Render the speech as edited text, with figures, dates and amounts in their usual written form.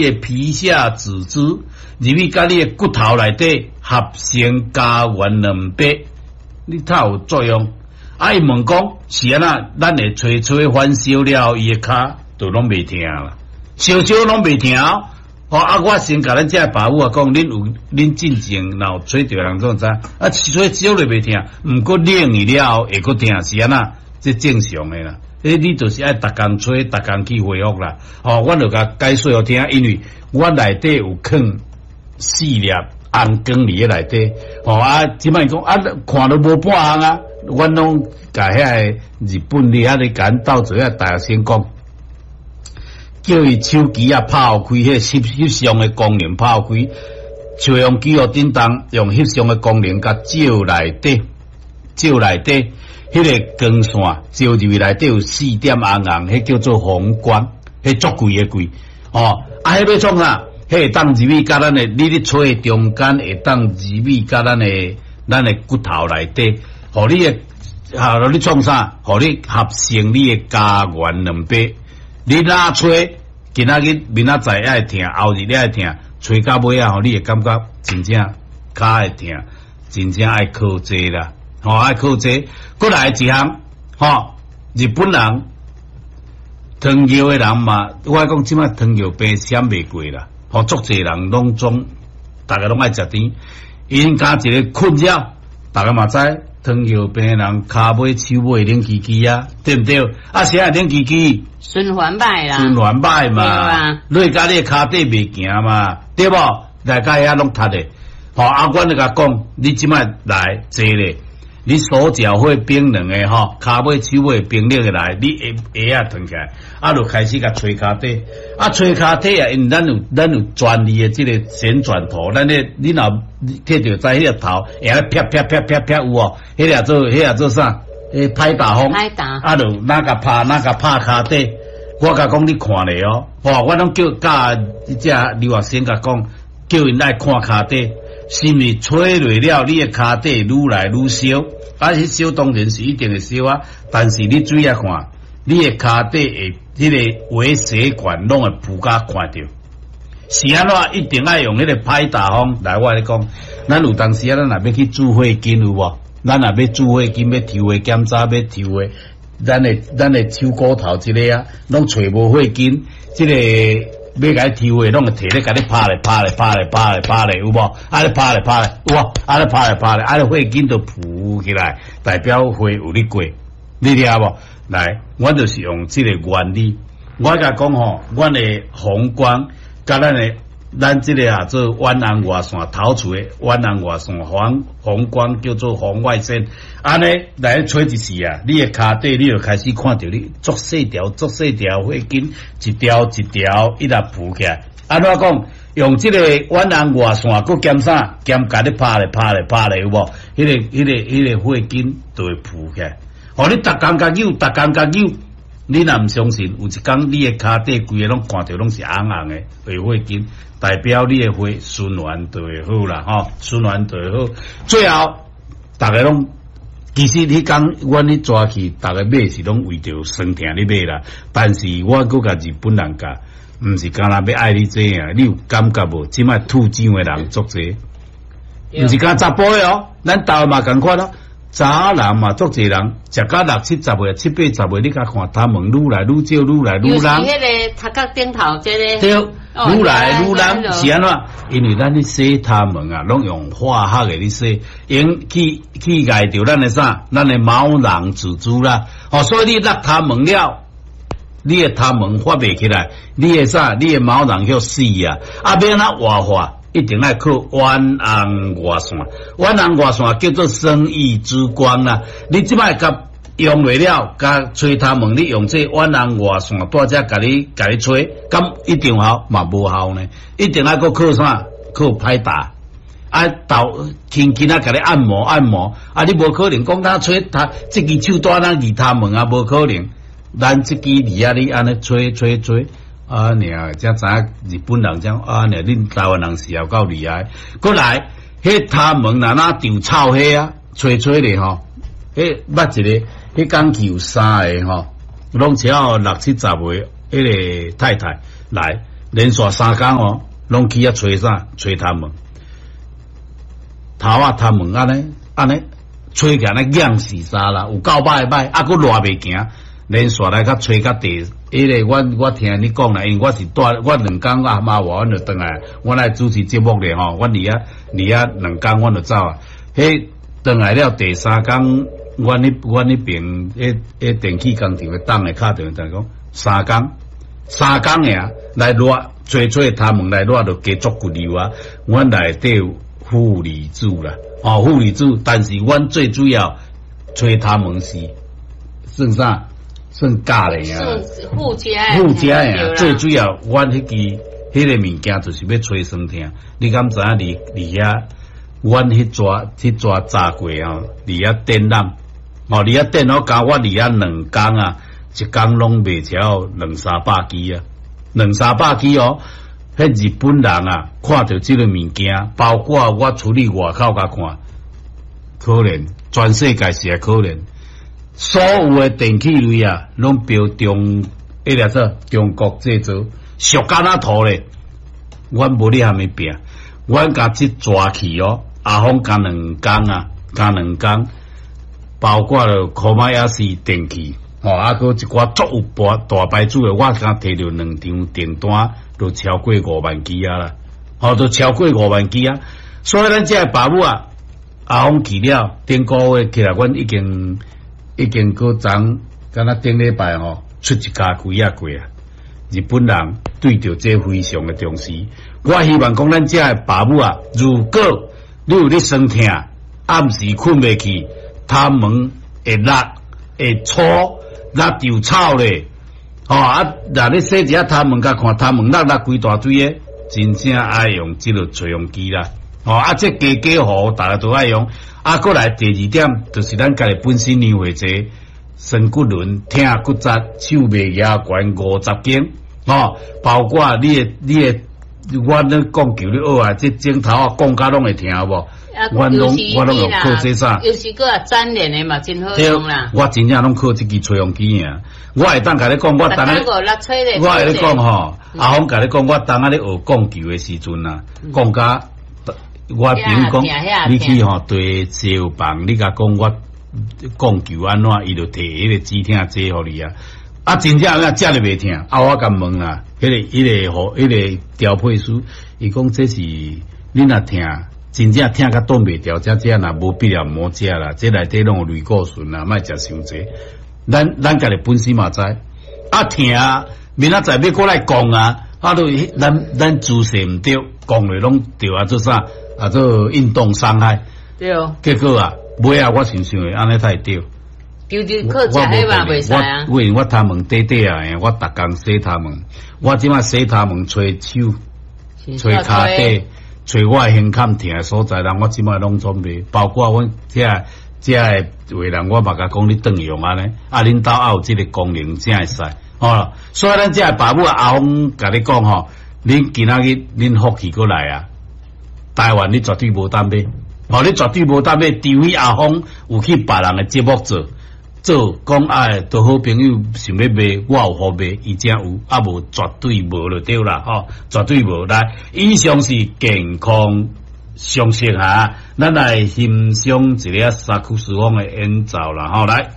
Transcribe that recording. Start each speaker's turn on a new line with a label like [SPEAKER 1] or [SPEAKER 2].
[SPEAKER 1] 的皮下組織，入去佮你的骨頭內底合成膠原蛋白，你才有作用。啊，伊問講是按怎？咱會吹吹反燒了，伊的跤就攏袂疼啦，燒燒攏袂疼。哦，啊，我先共咱遮爸母啊講，恁有恁進前若有吹著人總知，啊，吹燒咧袂疼，毋過冷去了後會閣疼，是按怎？這正常的啦。欸，你就是愛逐工吹，逐工去恢復啦。吼，我就共解說予聽，因為我內底有囥四粒紅光佇咧內底。吼啊，這擺講啊，看都無半項啊，阮攏共遐个日本佇遐咧共𪜶鬥做遐大學生講，叫伊手機啊拍予開，彼個翕翕相的功能拍予開，照用機予振動，用翕相的功能共照內底，照內底。彼個光線照入去內底有四點紅紅，彼叫做紅光，彼足貴的貴。哦，啊，彼欲創啥？彼會當入去佮咱的，你咧吹的中間會當入去佮咱的骨頭內底，予你的，啊，予你創啥？予你合成你的膠原蛋白。你若吹，今仔日明仔載也會疼，後日也會疼，吹到尾仔吼，你會感覺真正跤會疼，真正愛靠這啦。吼，愛靠這，閣來一項，吼，日本人糖尿的人嘛，我講這擺糖尿病閃袂過啦，吼，足濟人攏總，逐家攏愛食甜，𪜶加一個困擾，逐家嘛知糖尿病的人跤尾手尾冷吱吱啊，對毋對？啊，啥會冷吱吱？
[SPEAKER 2] 循環歹啦，
[SPEAKER 1] 循環歹嘛，落共你跤底袂行嘛，對無？來到遐攏窒的，吼，啊，阮就共講，你這擺來坐咧。你手腳會冰冷的吼，跤尾手尾冰冷的來，你鞋鞋仔脫起來，啊，就開始共吹跤底，啊，吹跤底啊，因為咱有專利的這個旋轉頭，咱咧你若摕著知彼個頭，會咧啪啪啪啪啪有無？彼個做啥？彼拍打風，
[SPEAKER 2] 拍打，
[SPEAKER 1] 啊，就哪共拍哪共拍跤底，我共講你看咧哦，吼，我攏叫教這留學生共講，叫𪜶來看跤底，是毋是吹落了，你的跤底愈來愈燒？啊！彼燒當然是一定會燒啊，但是你注意看，你的跤底會彼個微血管攏會浮甲看著，是按怎？一定愛用彼個拍打風來。我共你講，咱有當時啊，咱若欲去注血筋有無？咱若欲注血筋，欲抽血檢查，欲抽血，咱的手骨頭這个啊，攏揣無血筋，這个欲共伊抽血，攏會提咧共你拍咧拍咧拍咧拍咧拍咧，有無？按呢拍咧拍咧，有無？按呢拍咧拍咧，按呢血筋就浮起來，代表血有咧過，你聽無？來，阮就是用這個原理，我共講吼，阮的紅光，佮咱這個啊做遠紅外線頭厝的遠紅外線紅光叫做紅外線，按呢來吹一時啊，你的跤底你就開始看著你足細條足細條血筋一條一條一直浮起來。按怎講？用這個遠紅外線，閣兼啥？兼共你拍咧拍咧拍咧，有無？彼個血筋就會浮起來。予你逐工共扭，逐工共扭。你若毋相信，有一工你的跤底規个攏看著攏是紅紅的，會血筋，代表你的血循環就會好啦，吼，循環就會好。最後，逐家攏其實彼工阮咧抓去，逐家買是攏為著酸疼咧買啦。但是我閣共日本人教，毋是干焦欲愛你這啊，你有感覺無？這擺吐酒的人足濟，毋是干查埔的哦，咱台灣嘛仝款咯。查人嘛，足濟人，食甲六七十歲、七八十歲，你共看頭毛愈來愈少，愈來愈攏。
[SPEAKER 2] 尤其彼个頭殼頂頭這个。
[SPEAKER 1] 對，愈來愈攏是按怎？因為咱咧洗頭毛啊，攏用化學的咧洗，用去礙著咱的啥？咱的毛囊組織啦。哦，所以你落頭毛了，你的頭毛發袂起來，你的啥？你的毛囊予死啊！啊，欲按怎活化？一定愛靠遠紅外線，遠紅外線叫做生意之光啦。你這擺共用袂了，共吹頭毛，你用這遠紅外線，蹛遮共你吹，敢一定有效嘛？無效呢？一定愛閣靠啥？靠拍打，啊，頭輕輕仔共你按摩按摩。啊，你無可能講咱吹頭，這支手蹛咱二頭毛啊，無可能。咱這支佇遐你按呢吹吹吹。啊，爾才知影日本人講啊，爾恁台灣人是有夠厲害。閣來，彼頭毛若若長臭火啊，吹吹咧吼，彼捌一個，彼工去有三個吼，攏超六七十歲，彼個太太來，連續3工哦，攏去遐揣啥？揣頭毛，頭仔頭毛按呢按呢揣起來硬死沙啦，有夠歹歹，啊閣熱袂行，連續來較揣較第，彼個阮我聽你講啦，因為我是蹛我2工阿媽話，阮就轉來，阮來主持節目咧吼，阮佇遐2工，阮就走啊。彼轉來了第三工，阮彼邊彼電器工廠的黨的敲電話講，三工3工爾來熱，揣揣頭毛來熱就加足骨油啊。阮內底有負離子啦，哦負離子，但是阮最主要揣頭毛是算啥？算鉀咧啊，
[SPEAKER 2] 算附加
[SPEAKER 1] 附加的，最主要，阮彼支彼個物件就是欲揣酸痛。你敢知影佇遐，阮彼逝炸過吼，佇遐展覽，哦，佇遐展覽，共我佇遐2工啊，一工攏賣超兩三百支啊，兩三百支哦。彼日本人啊，看著這個物件，包括我出去外口共看，可憐，全世界是會可憐。所有的電器類啊，攏標中，彼個做中國製造，俗甲若塗咧。阮無咧蝦米拼，阮共這逝去哦，阿峰共2工啊，共2工，包括了科馬亞斯電器，吼，啊，閣一寡足有大大牌子的，我敢提著兩張訂單，都超過5萬支啊啦，吼，都超過五萬支啊。所以咱這个爸母啊，阿峰去了，頂個月起來，阮已經。已經閣昨敢若頂禮拜吼出一家幾仔過啊！日本人對著這非常的重視。我希望講咱遮的爸母啊，如果你有咧酸痛，暗時睏袂去，頭毛會辣會粗，辣就臭咧，吼啊！若你洗一下頭毛，共看頭毛落落規大堆的，真正愛用這個吹風機啦。吼啊！這家家戶戶逐家都愛用。啊，閣來第二點，就是咱家己本身年會濟，酸骨輪、疼骨折、手袂舉懸50斤，吼，包括你的，我咧講求你學啊，這枕頭啊講甲攏會疼無？阮攏用靠這啥？
[SPEAKER 2] 尤其閣啊粘連的嘛，真好用啦。
[SPEAKER 1] 我真正攏靠這支吹風機爾。我會當共你講，我當咧，我會咧講吼，阿峰共你講，我當仔咧學講球的時陣啊，講甲。我朋友講，你去吼對燒房，你共講我講求按怎，伊就提彼個止痛劑予你啊。啊，真正啊，食咧袂疼。啊，我共問啦，彼個彼個調配師，伊講這是你若疼，真正疼甲擋袂牢，才食若無必要毋好食啦。這內底攏有類固醇啦，莫食傷濟。咱家己本身嘛知，啊疼，明仔載欲閣來講啊，啊，都咱姿勢毋對，講落攏對啊，做啥？啊，做運動傷害，
[SPEAKER 2] 對哦。
[SPEAKER 1] 結果啊，尾仔我想想會按呢才會對。
[SPEAKER 2] 就就靠食彼嘛袂使啊。
[SPEAKER 1] 我我頭毛短短啊，我逐工洗頭毛，我這擺洗頭毛，揣手、揣跤底、揣我的胸坎疼的所在，人我這擺攏總袂，包括阮遮遮的話人，我嘛共講你轉用按呢，啊，恁兜也有這個功能才會使，吼。所以咱遮的爸母阿峰共你講吼，恁今仔日恁福氣閣來啊！台灣你絕對無當買，吼！你絕對無當買，除非阿峰有去別人的節目做做講哎，都好朋友想欲賣，我有予賣，伊才有，啊無絕對無就對啦，吼！絕對無來。以上是健康常識哈，咱來欣賞一個薩克斯風的演奏啦，吼來。